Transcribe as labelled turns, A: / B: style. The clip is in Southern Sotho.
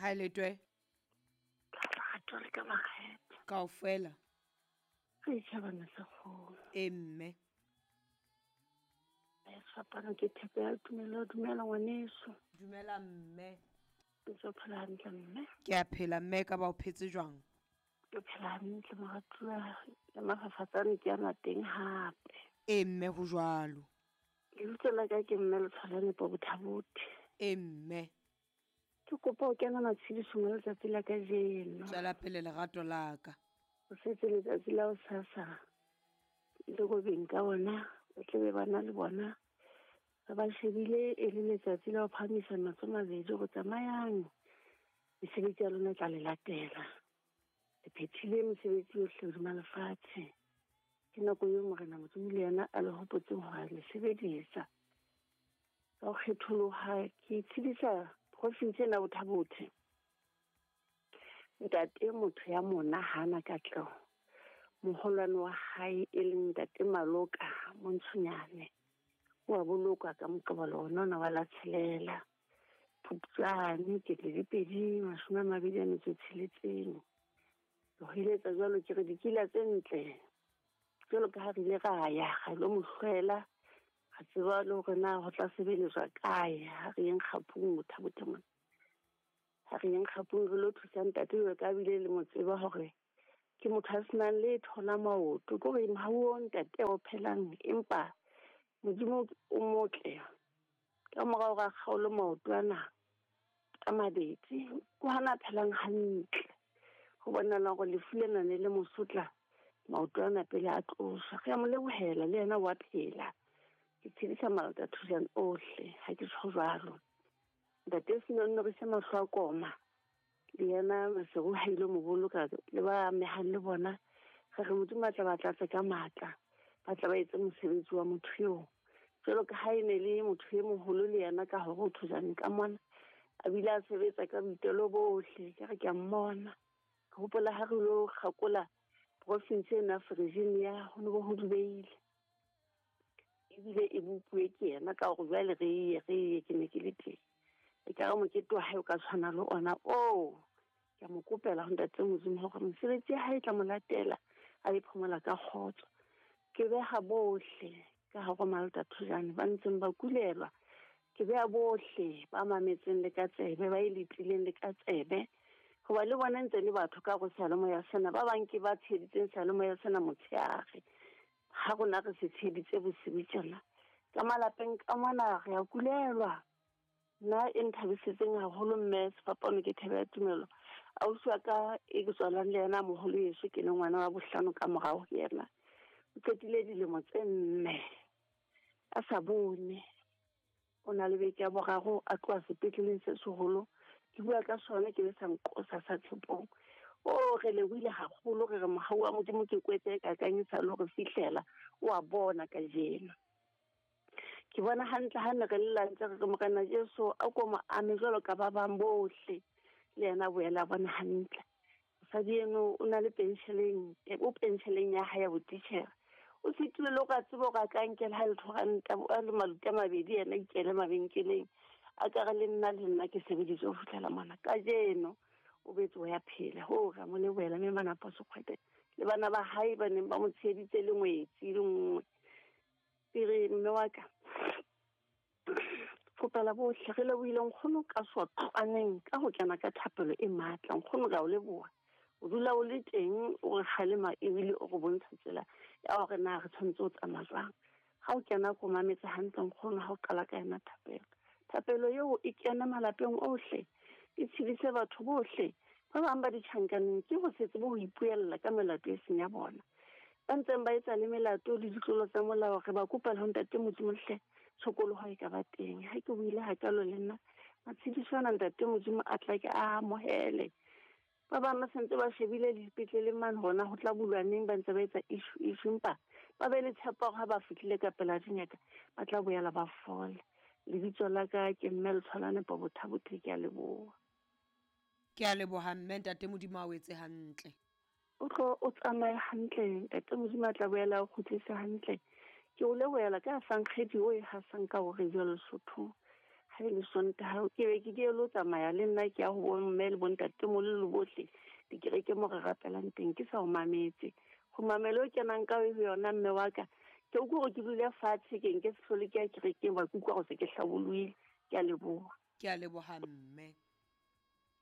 A: Hae letwe.
B: Ka lerato le ka makgethe.
A: Kaofela.
B: Re tjhabana sa kgolo.
A: E mme.
B: Sefapano ke thepe ya tumelo. Dumela ngwaneso.
A: Dumela mme.
B: Ntse o phela hantle mme?
A: Ke a phela mme, ka ba o phetse jwang?
B: Ke phela hantle moratuwa, le mafafatsane ke ana teng hape.
A: E mme ho jwalo.
B: Lebitso la ka ke mme Letshwalane Bothabothe.
A: E mme.
B: Ke kopa ho kena matshedisong a letsatsi la kajeno.
A: Tswela pele lerato la ka.
B: O setse letsatsi la hosasa le robeng ka ona, ba tlabe ba na le bona. Re ba shebile e le letsatsi la ho phahamisa matsoho mabedi hore tsamayang, mesebetsi ya lona e tla le latela. Le phethile mesebetsi yohle hodima lefatshe. Ke nako eo Morena Modimo le yena a le hopotseng hore a le sebedisa. Ka ho kgetholoha ke itshedisa province ena Bothabothe. Ntate motho ya mona hana katleho. Moholwane wa hae e leng ntate Maloka Montshonyane o a bolokwa ka Moqebelo ona ona wa la tshelela. Phupjane 2026. Ke ho eletsa jwalo ke re dikila tse ntle jwalo ka ha re ile ra ya ra lo mo hlwela, ra tseba le hore na ho tla sebeletswa kae. Ha re yeng kgapung Bothabothe mona, ha re yeng kgapung re lo thusa ntate jwalo ka bile le mo tseba hore ke motho a senang letho la maoto. Ke hore mohau o ntate o phelang, empa Modimo o motle. Ka mora hore a kgaole maoto ana a mabedi, ke hona a phelang hantle. Ho bonahala hore lefu lena ne le mosotla maoto ana pele a tloswa. Re a mo lebohela le yena wa phela. Ke tshedisa malata thusang ohle, ha ke tjho jwalo. Ntate Senonno re se mahlo a koma. Le yena Maseru ha ile mo boloka le ba amehang le bona. Re re Modimo a tla ba tlatse ka matla, ba tla ba etse mosebetsi wa motho eo. Jwalo ka ha e ne le motho e moholo le yena ka hore o thusane ka mona, a bile a sebetsa ka boitelo bohle. Ke re ke a mmona. Ke hopola ha re lo kgakola province ena Virginia, ho ne ho dubeile. Ebile e bopuwe ke yena ka hore jwale re ye ke ne ke le teng. E ka re mokete wa hae o ka tshwana le ona oo. Ke a mo kopela ho ntate Modimo hore mosebetsi ya hae e tla mo latela, a e phomola ka kgotso. Ke beha bohle ka hare ho Malta Thojane ba ntseng ba kulelwa. Ke beha bohle ba mametseng le ka tsebe, ba e letileng le ka tsebe. Hoba le bona ntse le batho ka hare ho seyalemoya sena, ba bang ke ba tsheheditseng seyalemoya sena motshehare. Ha rona re se tsheheditse bosiu tjena. Ka malapeng ka mona re a kulelwa. Nna e nthabisitseng haholo mme sefapano ke thebe ya tumelo. Ausi wa ka e ke tswalang le yena moholo yeso, ke le ngwana wa bohlano ka morao ho yena. O qetile dilemo tse 4 a sa bone. O na le beke ya boraro a tloha sepetleleng se seholo. Ke bua ka sona ke le sa nqosa sa Tshepong. O re lebohile haholo, re re mohau wa Modimo ke kwetse e kakang e sa le hore fihlela o a bona kajeno. Ke bona hantle ha ne re lla ntse re re Morena Jesu a ko mo ame jwalo ka ba bang bohle, le yena a boela a bona hantle. Mosadi eno o na le pensheleng, o pensheleng ya hae ya botitjhere. O sitilwe le hore a tsebe hore a ka nkela ha letho ranta, a le maluti a mabedi yena a ikele mabenkeleng. A ka re le nna ke sebeditse ho fihlela mona. Kajeno o betse ho ya phela. Ho re a mo lebohela mme Manapo Sekgwete le bana ba hae ba neng ba mo tsheheditse le ngwetsi le nngwe. Pere mme wa ka, kopela bohle re lebohile nkgono ka sotlwaneng ka ho kena ka thapelo e matla. Nkgono re a o leboha. O dula o le teng, o re kgalema ebile o re bontsha tsela ya hore na re tshwanetse ho tsamaya jwang. Ha o kena ko mametse hantle nkgono ha o qala ka yona thapelo. Thapelo eo e kena malapeng ohle, e tshedise batho bohle. Ba bang ba ditjhankaneng ke ho se tsebe ho ipuella ka melato e seng ya bona. Ba ntseng ba etsa le melato le ditlolo tsa molao, re ba kopa le ho ntate Modimo hle, tshokoloho e ka ba teng. Ha ke buile hakalo le nna, matshediso ana ntate Modimo a tla ke a amohele. Ba bang ba sentse ba shebile le dipetleleng mane hona ho tla bulwa neng, ba ntse ba etsa issue, empa ba be le tshepo hore ha ba fihlile ka pela dingaka ba tla boela ba fola. Lebitso la ka ke mme Letshwalane Bothabothe, ke a leboha.
A: Ke a leboha mme, ntate Modimo a o etse hantle.
B: O tlo o tsamaye hantle, ntate Modimo a tla boela o kgutlise hantle. Ke o lebohela ka sankgedi o e hasang ka hore jwalo Lesotho. Ha e le Sontaha ke be ke ke lo tsamaya le nna ke ya ho bomme le bontatemoholo le bohle dikereke mo re rapelang teng ke sa o mametse. Kgumamelo e kenang ka ho yona mme wa ka ke utlwa hore ke dule fatshe ke nke se hlole ke ya kerekeng ba ke utlwa gore se ke hlabolohile. Ke a leboha.
A: Ke a leboha mme.